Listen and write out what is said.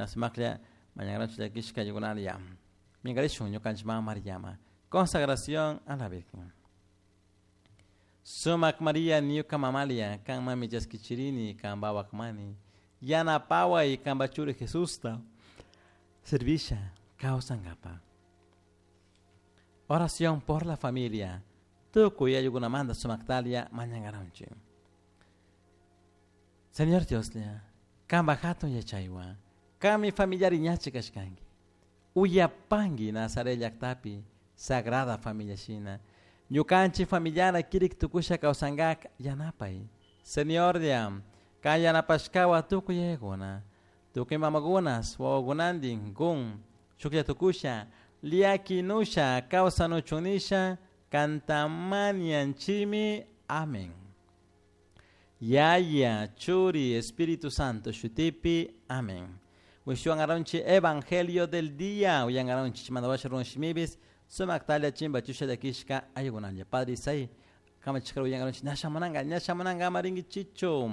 Sumaklla mañankaranchik llakishka ayukunalla. Minkarishun ñukanchik mama Mariama. Consagración a la Virgen. Sumak Maria ñuka mamalia, kan mami chaskichirini, kan mani. Yanapaway kanpa churi Jesusta. Servisha, kawsankapa. Oración por la familia. Tukuy ayukunamanta sumaktalia mañankaranchik. Señor Dioslla, kanpa hatun yachaywan, kanmi familiari ñachi kashkanki. Uyapanki Nazaret llaktapi, Sagrada Familia shina. Ñukanchik familiana kirik tukusha kawsankak yanapay. Señorlla, kan yanapashkawa tukuy yayakuna. Tukuy mamakunas, wawakunantin, kun, shuklla tukusha, llakinusha, kawsanuchun kanta mañanchimi. Amén. Yaya, Churi, Espíritu Santo, shutipi. Amén. Wishuan Evangelio del día. Uyangaronchi, mandawasha runshimibis, sumaktalia chimba chusha llakishka ayukunalla. Padre Isai, kamachikar uyangaronchi, ña shamunanga, ña shamunanga, amaringi chicho.